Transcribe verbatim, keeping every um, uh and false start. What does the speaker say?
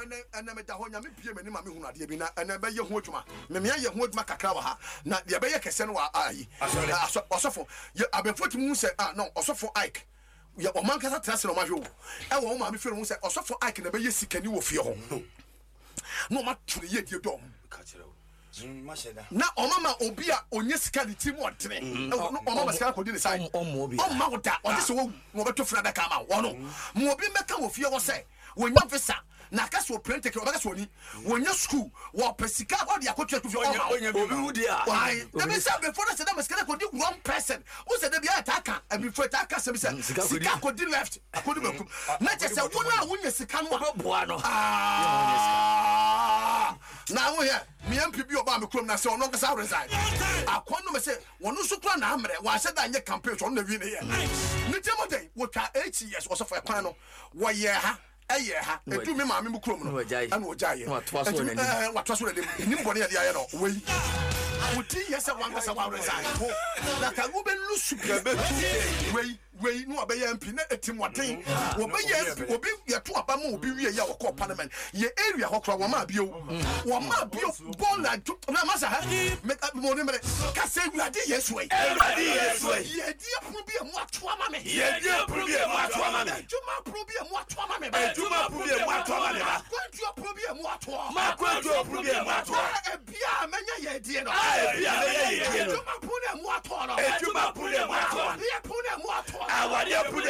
Ɛnɛ ɛnɛ meda hɔ, Nyame bie m'anim a mehunu adeɛ bi, na ɛnɛ bɛyɛ ho adwuma. Memea yɛ ho adwuma kakra wɔ ha, na deɛ ɛbɛyɛ kɛseɛ no wɔ ayi. Asɔre. Ɔsɔfo yɛ abɛnfo tumi hu sɛ, ah no, Ɔsɔfo Ike yɛ ɔmo ankasa tena ase na ɔmo ahwɛ o, ɛwɔ wɔn maame fie no ho sɛ Ɔsɔfo Ike na ɛbɛyɛ sikani wɔ fie hɔ, na ɔmo ato ne yie die dɔm. Ka kyerɛ wo. Mm, mahyɛ da. Na ɔma ma obi a onye sika ne ti mu ɔdene ɛwɔ no, ɔma ma sika akɔdi ne side. Ɔm- ɔmmoa obi. Ɔmma wo da, ɔde sɛ wɔwu na ɔbɛto funu adaka ama wo. Ɔno ma obi mmɛka wɔ fie hɔ sɛ wɔnya visa na aka sɛ ɔplane ticket, ɔbɛka sɛ ɔni wɔnya school, wɔpɛ sika, ɔde akɔtua school fee, ɔma wo. Onya bi Obi ma wo. wu di a. Why? Dabi sɛ abɛfo no sɛ dɛ sika no kɔdi wrong person wo sɛ dabi ayɛ taa ka abifo taa ka sɛm sɛ Sika kɔdi- sika kɔdi left, akɔdi benkum, na kyɛ sɛ wo no a wonya sika no a Wobɛboa no. Ah, na wohɛ me M P bi ɔbaa me kurom na sɛ ɔno ankasa resign akɔn no me sɛ wɔno nso kora na ammerɛ wɔahyɛ da nyɛ campaign so, ɔno na wi ne yɛ ne tiɛ mɔdɛn wɔtwa eight years. Ɔsɔfo, ɛkwan no wɔyɛ ha, ɛyɛ ha, ɛdu me maame mu kurom no Na wɔgyae. Ɛna wɔgyaeɛ. Na watoa so wɔ Ɛnti, n'anim. ɛɛ, watoa so wɔ n'anim. Ɛnim bɔne yɛde ayɛ no wei wodi yɛ sɛ wankasa wa resign ho na ka wobɛlusu bi wei wei ne wabɛyɛ M P na ɛtim wɔden wɔbɛyɛ M P. Obi yɛto aba ma obi wie yɛ a wɔkɔɔ parliament yɛ area hɔ kora, wɔma bio, wɔma bio bɔɔla adwo na masa ha mɔne mmerɛ ka sɛ, "Awurade Yesu ai." Awurade Yesu ai. Yɛdi apono bi a mu ato ama me. Yɛdi apono bi a mu ato ama me. Adwuma pono bi a mu ato ama me ba. Adwuma pono bi a mu ato ama me ba. Akwantuo pono bi a mu atoɔ. Makwantuo pono bi a mu atoɔ. A ebia a mɛnya yɛdie no. A ebia a mɛnya yɛdie no. Adwuma pono a mu atoɔ no. Adwuma pono a mu atoɔ. Awadeɛ pono a mu atoɔ no. Awadeɛ pono a mu